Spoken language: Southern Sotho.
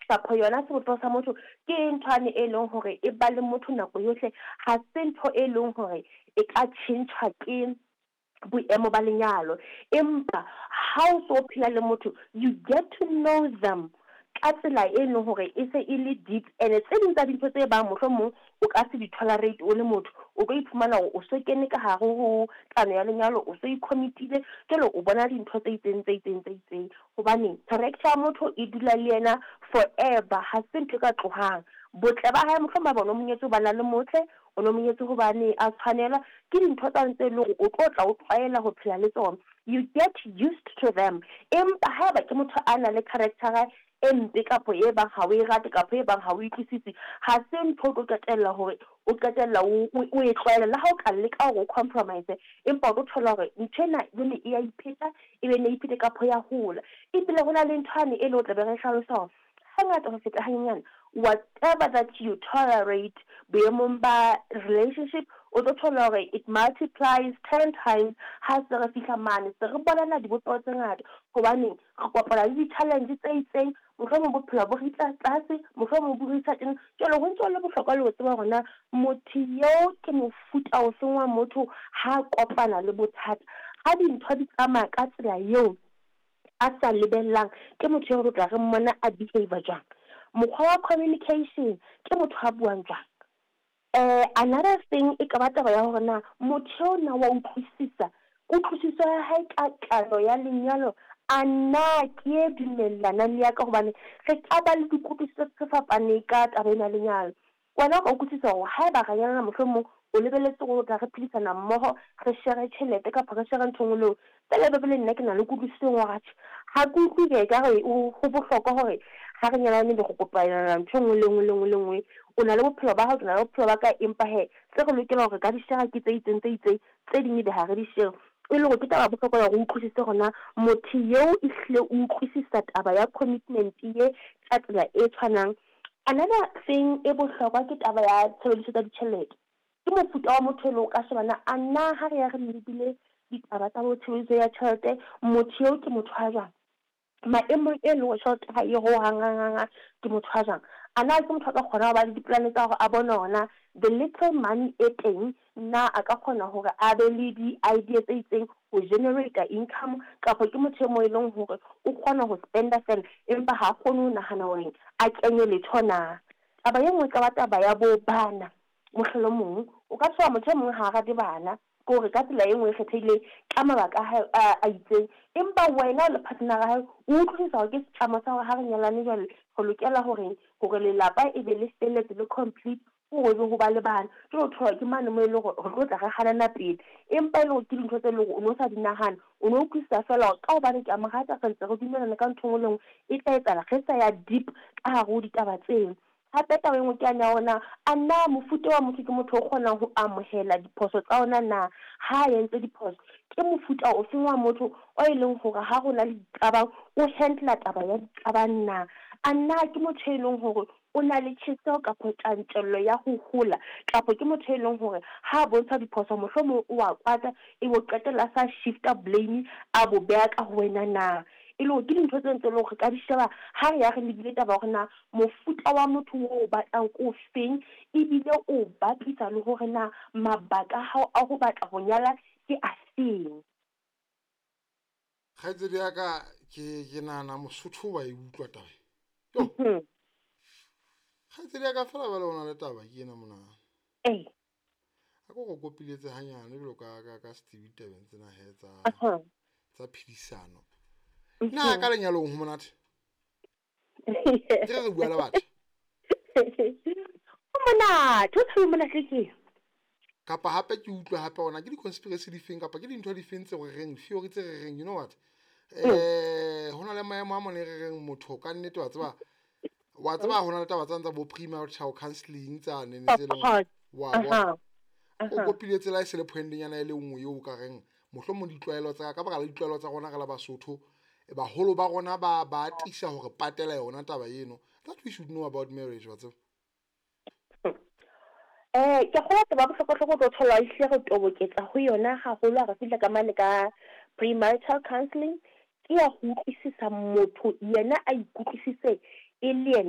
Kapa yona sebopeho sa motho ke nthwane e leng hore e ba le motho nako yohle, ha se ntho e leng hore e ka tjhentjhwa ke boemo ba lenyalo. Empa ha o so phela le motho, you get to know them ka tsela e leng hore e se e le deep. And tse ding tsa dintho tse bang mohlomong o ka se di tolerate o le motho, o tlo iphumana hore o so kene ka hare ho kano ya lenyalo, o so i-commit-ile, jwale o bona dintho tse itseng tse itseng tse itseng. Hobane character ya motho e dula le yena forever, ha se ntho e ka tlohang. Botle ba hae mohlomong ba bona o monyetse hobane a le motle, o no monyetse hobane a tshwanela, ke dintho tsane tse leng hore o tlo tla o tlwaela ho phela le tsona. You get used to them. Empa haeba ke motho a nang le character e mpe kapa e bang ha o e rate kapa e bang ha o utlwisise, ha se ntho o tlo qetella hore o qetella o e tlwaela. Le ha o ka leka hore o compromise, empa o tlo thola hore ntho ena jwale e ya ipheta, e be ne iphete kapa ya hola. Ebile ho na le nthwane e leng o tla be re hlalosa hore hangata ho feta hanyenyane, whatever that you tolerate boemong ba relationship, o tlo thola hore it multiplies 10 times ha se re fihla mane. Se re bonana dibopeho tse ngata, hobane re kopana le di-challenge tse itseng, mohlomong bophelo bo re tla tlase, mohlomong bo re isa teng. Jwale ho ntso le bohlokwa le ho tseba hore na motho eo ke mofuta ofeng wa motho ha kopana le bothata. Ha dintho di tsamaya ka tsela eo a sa lebellang, ke motho eo re tla re mmona a behave jwang. Mokgwa wa communication, ke motho a buang jwang. Another thing e ka ba taba ya hore na motho eo na wa utlwisisa, kutlwisiso ya hae ka kano ya lenyalo a na ke e dumellanang le ya ka, hobane re ka ba le dikutlwisiso tse fapaneng ka taba ena ya lenyalo. Wena o ka utlwisisa hore haeba re nyalana mohlomong o lebelletse hore o tla re phedisana mmoho, re share tjhelete kapa re share ntho e nngwe le nngwe. Feela ebe le nna ke na le kutlwisiso e nngwe hore atjhe, ha ke utlwe ekare ho bohlokwa hore ha re nyalane be re kopanela ntho e nngwe le nngwe le nngwe le nngwe. O na le bophelo ba hao, ke na le bophelo ba ka, empa hee tse re lokelang hore ka di share ke tse itseng tse itseng, tse ding ebe ha re di share. E le hore ke taba ya bohlokwa ya hore o utlwisise hore na motho eo ehlile o utlwisisa taba ya commitment ye ka tsela e tshwanang. Another thing e bohlokwa ke taba ya tshebediso tsa ditjhelete. Ke mofuta wa motho e leng o ka sheba na a na ha re ya re lebile ditaba tsa bo tshebediso ya tjhelete, motho eo ke motho a jwang. Maemong e leng hore tjhelete ha e ho hang hang hang, ke motho a jwang. A na ke motho a ka kgona ho ba le dipolane tsa hore a bone hore na the little money e teng, na a ka kgona hore a be le di-idea tse itseng ho generate income, kapa ke motho e mong e leng hore o kgona ho spenda fela empa ha kgone ho nahana hore a kenye letho na. Taba e nngwe e ka ba taba ya bo bana. Mohlolomong o ka thola motho e mong ha a rate bana, ke hore ka tsela e nngwe e kgethehileng ka mabaka a hae a itseng, empa wena o le partner ya hae o utlwisisa hore ke setlamo sa hore ha re nyalane jwale re lokela hore lelapa e be le felletse le complete, hore ebe ho ba le bana. Jwale o thola ke mane moo e leng hore re tlo tla re hanana pele, empa e le hore ke dintho tse leng hore o no sa di nahana, o no utlwisisa feela hore ka hobane ke a mo rata, re ntse re dumellana ka ntho e nngwe le nngwe e tla etsahala, re sa ya deep ka hare ho ditaba tseo. Hape taba e nngwe ke yane ya hore na a na mofuta wa motho ke motho o kgonang ho amohela diphoso tsa ona na, ha a entse diphoso. Ke mofuta ofeng wa motho o e leng hore ha ho na le diqabang o handle taba ya diqabang na. A na ke motho e leng hore o na le tjheseho kapa tjantjello ya ho hola, kapa ke motho e leng hore ha a bontsha diphoso mohlomong o a kwata, e bo qetella sa shifta blame a bo beha ka ho wena na. E le hore ke dintho tse ntse le hore re ka di sheba ha re ya re lebile taba hore na mofuta wa motho o batlang ke o feng, ebile o bapisa le hore na mabaka a hao a ho batla ho nyala ke a feng. Kgaitsedi ya ka, ke nahana Mosotho wa e utlwa taba e. Yo. Kgaitsedi ya ka fela jwale ho na le taba ke ena mona. A ko go kopiletse hanyane jwalo ka setsebi tabeng tsena he tsa phedisano. Na ka lenyalong ho monate? Ke re bua le batho. Ho monate, ho tshabe monate ke. Kapa hape ke utlwe hape hona ke di-conspiracy di feng kapa ke dintho di feng tse re reng theory tse re reng, you know what? Ho na le maemo a mone re reng motho ka nnete wa tseba, wa tseba ho na le taba tsa bo premarital counselling tsa nene tse leng wa bona. O kopile tsela e se le point-nyana e le nngwe eo ka reng mohlomong ditlwaelo tsa ka baka la ditlwaelo tsa rona re la Basotho, baholo ba rona ba atisa hore patela yona taba eno. That we should know about marriage, wa tseba. Ke kgolwa taba ya bohlokwa-hlokwa o tlo thola ehlile re toboketsa ho yona haholo ha re fihla ka mane ka premarital counselling, ke ya ho utlwisisa motho yena a ikutlwisise e le yena.